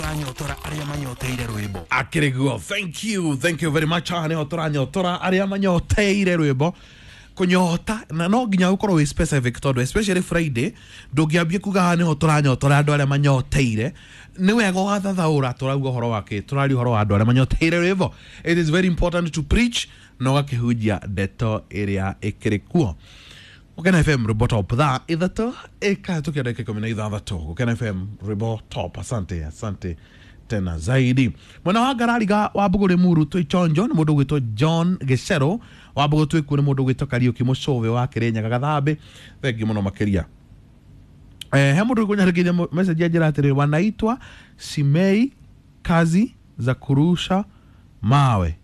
Tũranyotora arĩa manyoteire rwĩmbo. Akĩrĩguo, thank you, thank you very much. Haha nĩho tũranyotora arĩa manyoteire rwĩmbo. Kũnyota na no nginya ũkorwo wĩ specific, tondũ especially Friday ndũngĩambia kuga haha nĩho tũranyotora andũ arĩa manyoteire. Nĩ wega ũgathathaũra tũrauga ũhoro wa kĩ, tũraria ũhoro wa andũ arĩa manyoteire rwĩmbo. It is very important to preach na ũgakĩhunjia ndeto ĩrĩa ĩkĩrĩ kuo. Gũkena FM, rwĩmbo top, thaa 3 ĩkahĩtũkia ndagĩka 16. Gũkena FM, rwĩmbo top. Asante, asante tena zaidi. Mwena wa Ngarariga wa Mbũgũ Rĩmuru twĩ chonjo nĩ mũndũ ũgwĩtwo John Gĩcero wa Mbũgũ, twĩkuo nĩ mũndũ ũgwĩtwo Kariũki Mũcũvĩ wa Kĩrĩnyaga Gathambi, thengiũ mũno makĩria. He mũndũ ũkũnyandĩkĩire message anjĩra atĩrĩrĩ, wanaitwa Simei kazi za kurusha mawe,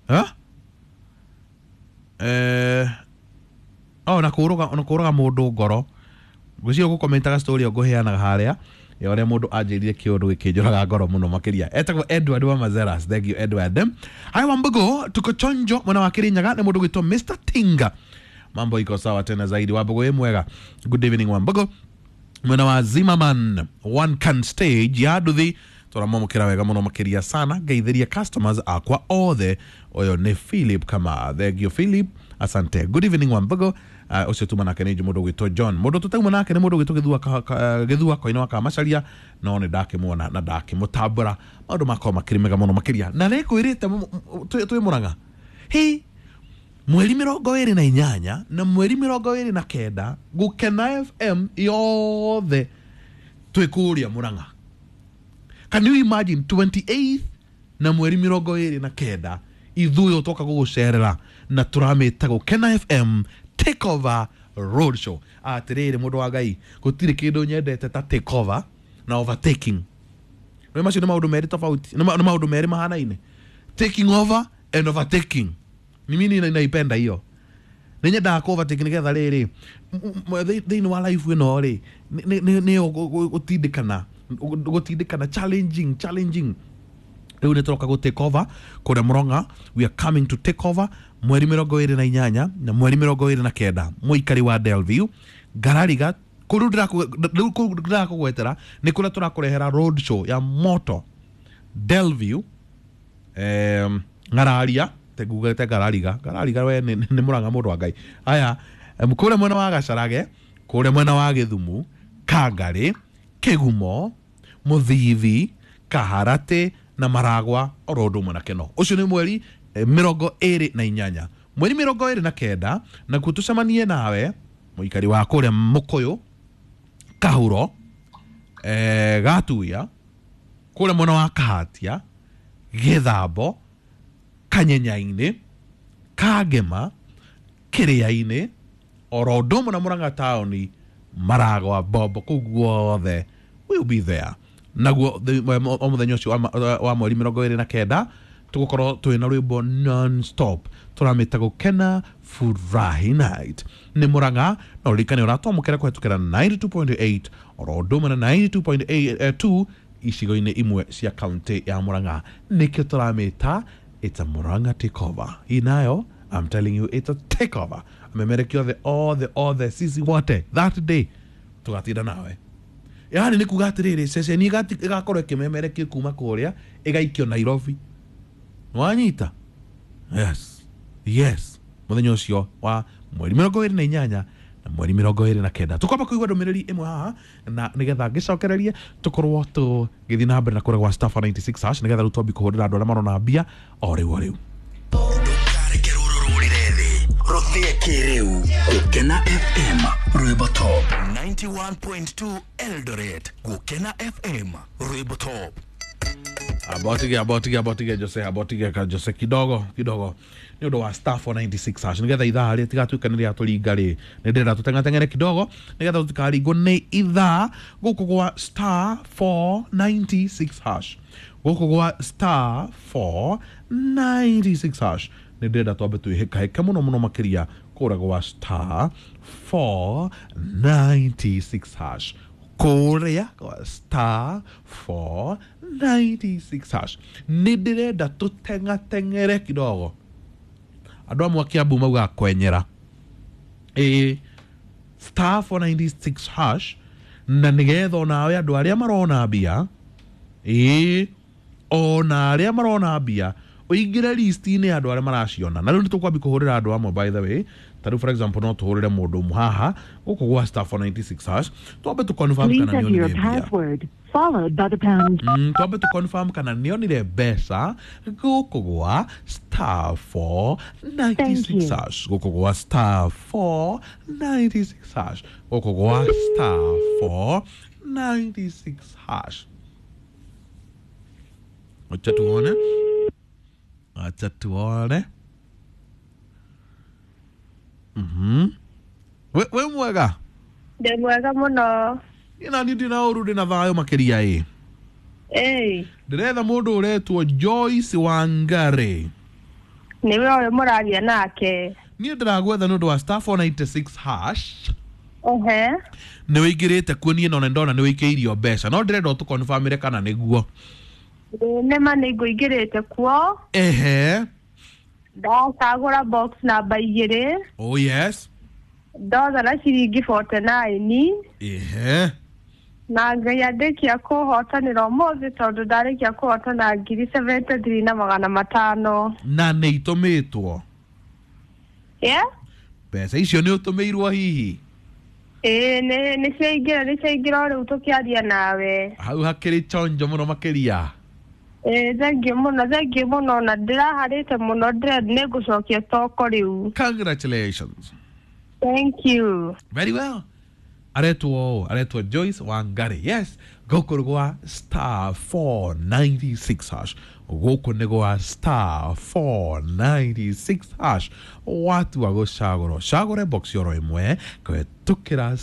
eh? Oh, na kũraga mũndũ ngoro. Ngwĩciria ũgũkomentaga story ĩyo ngũheanaga harĩa ya ũrĩa mũndũ anjĩrire kĩũndũ gĩkĩnjũraga ngoro mũno makĩria. Etagwo Edward wa Mazeras. Thank you, Edward. Haya, Wambugo, tuko chonjo mwena wa Kirinyaga nĩ mũndũ ũgwĩtwo Mr Tinga. Mambo iko sawa tena zaidi. Wambugo, ĩ mwega? Good evening, Wambugo. Mwena wa Zimmerman one can stage ya nduthi tũramwamũkĩra wega mũno makĩria sana. Ngeithĩria customers akwa othe. Ũyũ nĩ Philip kama. Thank you, Philip, asante. Good evening, Wambugo. Ũcio tuma nake nĩ mũndũ ũgwĩtwo John. Mũndũ tũtauma nake nĩ mũndũ ũgwĩtwo Gĩthua Gĩthua Koine wa Kamacaria, no nĩ ndakĩmuona na ndakĩmũtambũra. Maũndũ makorwo makĩrĩ mega mũno makĩria na nĩngwĩrĩte twĩ Mũrang'a hi mweri 28 na mweri 29, Gũkena FM yothe twĩ kũrĩa Mũrang'a. Can you imagine? 28 na mweri 29 ithuĩ twoka gũgũcerera na tũramĩta Gũkena FM Take Over Road Show. Atĩrĩrĩ, mũndũ wa Ngai, gũtirĩ kĩndũ nyendete ta take over na overtaking. Nĩ macio nĩ maũndũ merĩ tofauti, nĩ maũndũ merĩ mahanaine. Taking over and overtaking, ni mimi naipenda hiyo. Nĩ nyendaga kũ overtake nĩgetha rĩrĩ thĩinĩ wa life ĩno rĩ nĩyo gũtindĩkana, challenging, challenging. Rĩu nĩ tũroka gũ take over kũrĩa Mũrang'a. We are coming to take over mweri 28 na mweri 29. Mũikari wa Delview, Ngarariga, kũu rĩu kũu ndĩrakũgwetera nĩ kũrĩa tũrakũrehera road show ya moto. Delview, Ng'araria, ngugĩte Ngarariga, Ngarariga we nĩ Mũrang'a, mũndũ wa Ngai. Aya, kũrĩa mwena wa Gacarage, kũrĩa mwena wa Gĩthumu, Kangarĩ, Kĩgumo, Mũthithi, Kaharatĩ na Maragwa, oro ũndũ ũmwe na Keno. Ũcio nĩ mweri 28. Mweri 29 nakuo tũcemanie nawe mũikari wa kũrĩa Mũkũyũ, Kahuro, Gatuya, kũrĩa mwena wa Kahatia, Gĩthambo, Kanyenya-inĩ, Kangema, Kĩrĩa-inĩ, oro ũndũ ũmwe na Mũrang'a taũni, Maragwa, Bombo, kũu guothe we will be there. Naguo o mũthenya ũcio wa mweri 29 tũgũkorwo twĩna rwĩmbo non stop tũramĩta Gũkena Furahi Night. Nĩ Mũrang'a na ũririkane ũratwamũkĩra kũhetũkĩra 92.8 oro ũndũ ũmwe na 92.2 icigo-inĩ imwe cia kaunti ya Mũrang'a. Nĩkĩo tũramĩta it's a Murang'a takeover. Hii nayo, I'm telling you, it's a takeover. Amemereki othe othe othe, sisi wote that day tũgatinda nawe. Yani nĩ kuga atĩrĩrĩ, ceceni ĩgakorwo ĩkĩmemerekio kuma kũrĩa ĩgaikio Nairobi. Wanyita? Yes. Mũthenya ũcio wa mweri 28 na mweri 29 tũkwamba kũigua ndũmĩrĩri ĩmwe haha na nĩgetha ngĩcokererie tũkorwo tũgĩthiĩ na mbere na kũrĩa gwa star 496 hash, nĩgetha rĩu twambi kũhũrĩra andũ arĩa marona mbia o rĩu o rĩu. Ndũkareke rũrũ rũrĩre thĩ, rũthĩe kĩrĩu. Gũkena FM, rwĩmbo top, 91.2 Eldoret. Gũkena FM, rwĩmbo top. Abotige, abotige, abotige Jose, abotige ka Jose kidogo kidogo nĩ ũndũ wa star 496 hash, nĩgetha ithaa rĩ tigatuĩka nĩ rĩatũringa rĩ. Nĩ ndĩrenda tũteng'ateng'ere kidogo nĩgetha tũtikaringwo nĩ ithaa. Gũkũ gwa star 496 hash, gũkũ gwa star 496 hash, nĩ ndĩrenda twambe twĩhĩkahĩke mũno mũno makĩria kũrĩa gwa star 496 hash, kũrĩa gwa star 496 hash. Nĩ ndĩrenda tũteng'ateng'ere kidogo. Andũ amwe a Kiambu maugaga kwenyera. Ĩĩ, star 496 hash, na nĩgetha onawe andũ arĩa marona mbia. Ĩĩ, ona arĩa marona mbia ũingĩre list-inĩ ya andũ arĩa maraciona. Na rĩu nĩ tũkwambia kũhũrĩra andũ amwe, by the way. Ta rĩu, for example, no tũhũrĩre mũndũ ũmwe haha gũkũ gwa *496# twambe tũ confirm Please kana enter nĩ your onire mbia. password, followed by the pound. Twambe tũ confirm kana nĩ onire mbeca gũkũ gwa *496 Thank you. hash, gũkũ gwa *496#, gũkũ gwa *496#. Acha tuone, acha tuone. We mwega? Ndĩ mwega mũno. Ina niĩ ndina ũru, ndĩna thayũ makĩria ĩ. Ĩĩ. Ndĩretha mũndũ ũretwo Joyce Wangari. Nĩwe ũyũ mũraria nake. Niĩ ndĩragwetha nĩ ũndũ wa *496#. Ehe. Nĩ wĩingĩrĩte kuo, niĩ nona ndona nĩ wĩikĩirio mbeca, no ndĩrenda ũtũkonfamĩre kana nĩguo. Ĩĩ, nĩma nĩ ngũingĩrĩte kuo. Ehe. Ndacagũra box namba 2. Oh yes. Ndotha na ciringi 49. Ehe. Na Ngai andĩkia kũhotanĩra ũmũthĩ tondũ ndarĩkia kũhotana 73,500. Na nĩ itũmĩtwo? Yeah? Mbeca icio nĩ ũtũmĩirwo hihi? Ĩĩ, nĩ ciaingĩra, nĩ ciaingĩra o rĩu tũkĩaria nawe. Hau hakĩrĩ chonjo mũno makĩria. Ĩĩ, thengiũ mũno, thengiũ mũno, na ndĩraharĩte mũno, ndĩrenda nĩ ngũcokia toko rĩu. Congratulations. Thank you. Very well. Aretwo aretwo Joyce Wangari. Yes, gũkũ nĩ gwa *496#, gũkũ nĩ gwa *496#. Watua gũcagũra, ũcagũre box oro ĩmwe kũhetũkĩra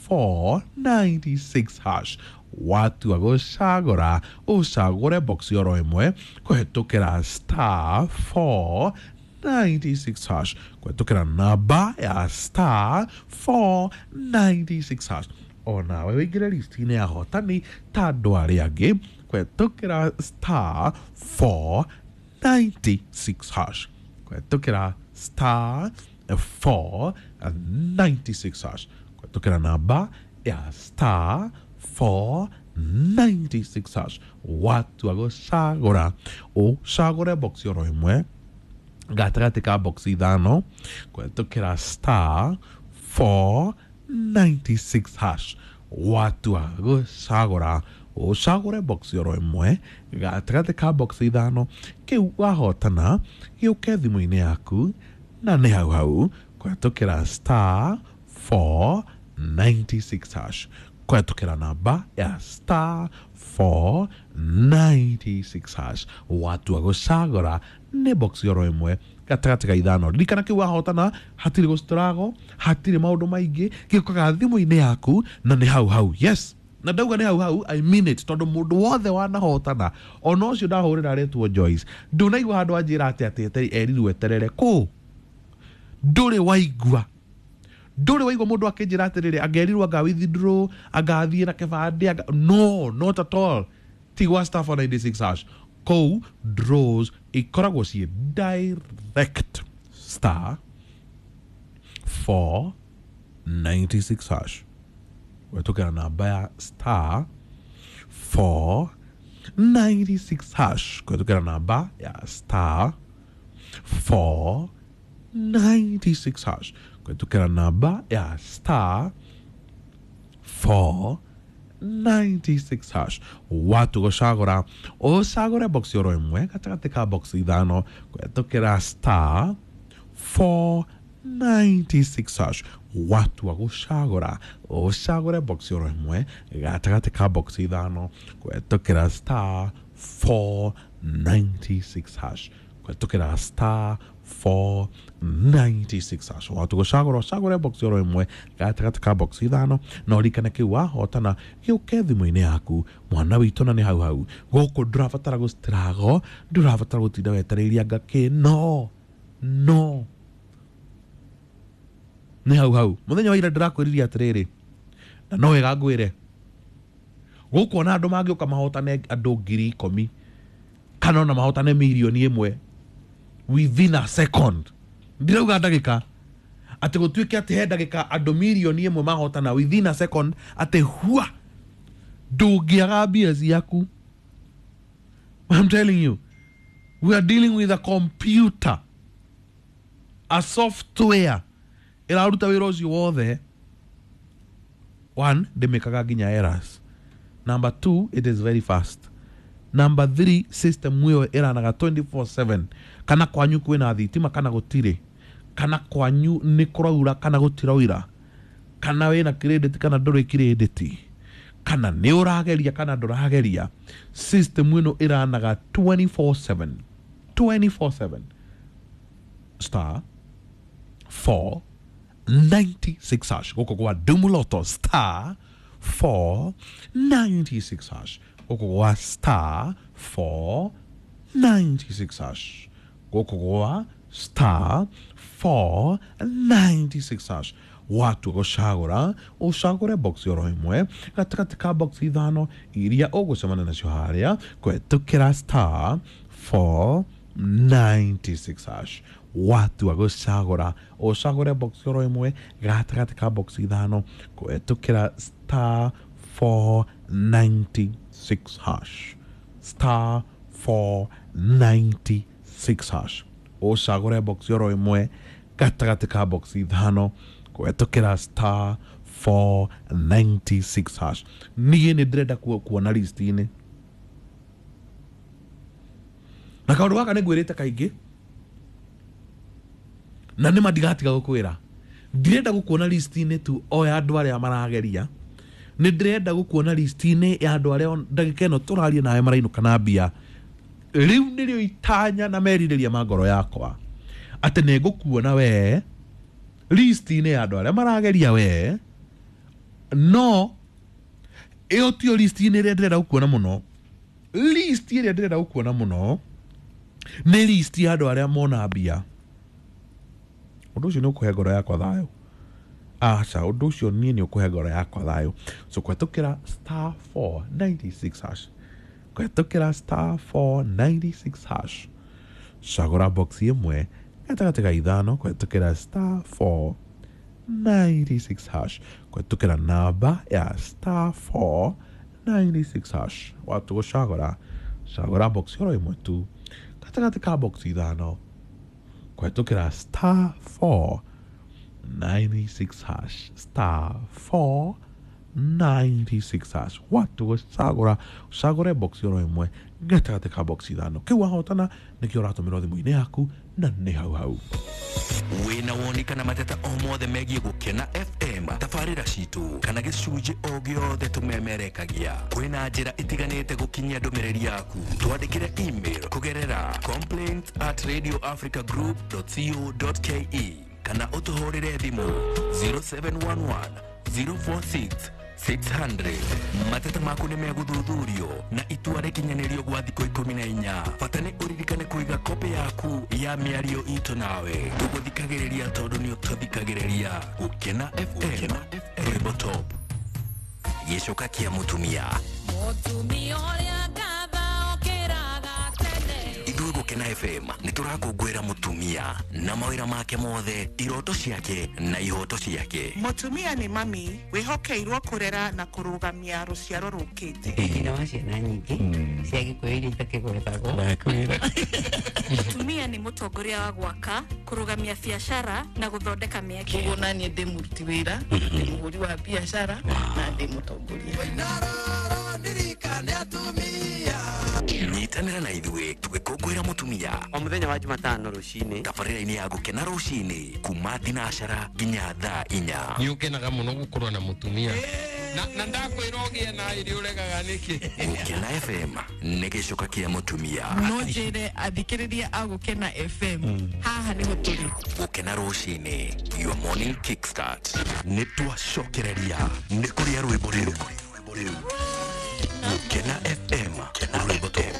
*496#. Watua gũcagũra, ũcagũre box oro ĩmwe kũhetũkĩra *496#, kũhetũkĩra namba ya *496# onawe wĩingĩre list-inĩ ya hotani ta andũ arĩa angĩ kũhetũkĩra *496#, kũhetũkĩra *496#, kũhetũkĩra namba ya *496#. Watua gũcagũra, ũcagũre box oro ĩmwe gatagatĩ ka box 5 kũhetũkĩra *496#. Watua gũcagũra, ũcagũre box oro ĩmwe gatagatĩ ka box 5, kĩu wahotana gĩũke thimũ-inĩ yaku na nĩ hau hau kũhetũkĩra *496#, kũhetũkĩra namba ya *496#. Watua gũcagũra nĩ box oro ĩmwe gatagatĩ ka 5, ririkana kĩu wahotana hatirĩ gũcitũrago, hatirĩ maũndũ maingĩ, gĩũkaga thimũ-inĩ yaku na nĩ hau hau. Yes, na ndauga nĩ hau hau, I mean it, tondũ mũndũ wothe wanahotana, ona ũcio ndahũrĩra aretwo Joyce, ndũnaigua handũ anjĩra atĩ atĩ erirwo eterere kũ. Ndũrĩ waigua, ndũrĩ waigua mũndũ akĩnjĩra atĩrĩrĩ angerirwo anga withdraw, angathiĩ na kĩbandĩ anga... No, not at all. Ti gwa *496# kũu draws ikoragwo ciĩ direct. *496# wetũkĩra namba ya *496# kũhetũkĩra namba ya *496# kũhetũkĩra namba ya *496#. Watu gũcagũra, ũcagũre box oro ĩmwe gatagatĩ ka box 5 kũhetũkĩra *496#. Watua gũcagũra, ũcagũre box oro ĩmwe gatagatĩ ka box 5 kũhetũkĩra *496# kũhetũkĩra *496#. Watu gũcagũra, ũcagũre box oro ĩmwe gatagatĩ ka box 5, na ũririkane kĩu wahotana gĩũke thimũ-inĩ yaku mwana witũ na nĩ hau hau. Gũkũ ndũrabatara gũcitirago, ndũrabatara gũtinda wetereirie anga kĩ, no no, nĩ hau hau. Mũthenya wa ira ndĩrakwĩririe atĩrĩrĩ, na no wega ngwĩre, gũkũ ona andũ mangĩũka mahotane andũ 10,000 kana ona mahotane 1,000,000 within a second, ndirauga ndagĩka, atĩ gũtuĩke atĩ he ndagĩka andũ 1,000,000 mahotana within a second, atĩ hua Ndũngĩaga mbia ciaku. I'm telling you, we are dealing with a computer, a software ĩraruta wĩra ũcio wothe. One, ndĩmĩkaga nginya errors. Number two, it is very fast. Number three, system ĩyo ĩranaga 24/7. Kana kwanyu kwĩna thitima kana gũtirĩ, kana kwanyu nĩ kũraura kana gũtiraura, kana wĩna credit kana ndũrĩ credit, kana nĩ ũrageria kana ndũrageria, system ĩno ĩranaga 24/7 24/7. Star 496 hash gũkũ gwa Dumuloto, star 496 hash gũkũ gwa star 496 hash gũkũ gwa star 496 hash. Watu gũcagũra ũcagũre box oro ĩmwe gatagatĩ ka box ithano iria ũgũcemania nacio harĩa kũhetũkĩra star 496 hash. Watua gũcagũra ũcagũre box oro ĩmwe gatagatĩ ka box ithano kũhetũkĩra star 496 hash, star 496 hash. Ũcagũre box oro ĩmwe gatagatĩ ka box ithano kũhetũkĩra star 496 hash. Niĩ nĩ ndĩrenda kuona list-inĩ, na kaũndũ gaka nĩ ngwĩrĩte kaingĩ na nĩ mandigatiga gũkwĩra, ndirenda gũkuona list-inĩ tu o ya andũ arĩa marageria, nĩ ndĩrenda gũkuona list-inĩ ya andũ arĩa ndagĩka ĩno tũraria nawe marainũka na mbia. Rĩu nĩrĩo itanya na merirĩria ma ngoro yakwa atĩ nĩ ngũkuona we list-inĩ ya andũ arĩa marageria we, no ĩyo tiyo list-inĩ ĩrĩa ndĩrenda gũkuona mũno. List ĩrĩa ndĩrenda gũkuona mũno nĩ list ya andũ arĩa mona mbia. Ũndũ ũcio nĩ ũkũhe ngoro yakwa thayũ. Aca, ũndũ ũcio niĩ nĩ ũkũhe ngoro yakwa thayũ. So kũhetũkĩra star 496 hash, kũhetũkĩra star 496 hash, cagũra box ĩmwe gatagatĩ ka ithano kũhetũkĩra star 496 hash, kũhetũkĩra namba ya star 496 hash. Watu gũcagũra cagũra box oro ĩmwe tu gatagatĩ ka box ithano kũhetũkĩra star 496 hash, star 496 hash. Watu gũcagũra ũcagũre box oro ĩmwe gatagatĩ ka box ithano. Kĩu wahotana nĩkĩo ũratũmĩrwo thimũ-inĩ yaku na nĩ hau hau. Wĩna woni kana mateta o mothe megiĩ Gũkena FM, tabarĩra citũ kana gĩcunjĩ o gĩothe tũmemerekagia, kwĩna njĩra itiganĩte gũkinyia ndũmĩrĩri yaku. Twandĩkĩre email kũgerera complaint@radioafricagroup.co.ke kana ũtũhũrĩre thimũ 0711 046 600. Mateta maku nĩ megũthuthurio na itua rĩkinyanĩrio gwa thikũ 14. Bata nĩ ũririkane kũiga kopĩ yaku ya mĩario itũ nawe. Tũgũthikagĩrĩria tondũ nĩ ũtũthikagĩrĩria. Gũkena FM, rwĩmbo top. Gĩcoka kĩa mũtumia. Mũtumia ũrĩa ngatha okĩraga tene. Ithuĩ Gũkena FM nĩ tũrakũngũĩra mũtumia na mawĩra make mothe, iroto ciake na ihoto ciake. Mũtumia nĩ mami wĩhokeirwo kũrera na kũrũgamia rũciaro rũkĩte. Nyina wa ciana nyingĩ cia Gĩkũyũ iria itakĩgwetagwo. Mũtumia nĩ mũtongoria wa gwaka, kũrũgamia biacara na gũthondeka mĩeke. Koguo naniĩ ndĩ mũruti wĩra, ndĩ mũhũri wa biacara na ndĩ mũtongoria. Nyitanĩra na ithuĩ tũgĩkũngũĩra mũtumia O mũthenya wa Jumatano rũcinĩ. Tabarĩra-inĩ ya Gũkena rũcinĩ kuma thinacara nginya thaa 4. Nĩ ũkenaga mũno gũkorwo na mũtumia na ndakwĩra ũgĩe na iria ũregaga nĩkĩ. Gũkena FM nĩ gĩcoka kĩa mũtumia. No njĩre athikĩrĩria a Gũkena FM haha nĩho tũrĩ. Gũkena rũcinĩ, your morning kickstart. Nĩ twacokereria nĩ kũrĩa rwĩmbo rĩu. Gũkena FM, rwĩmbo top.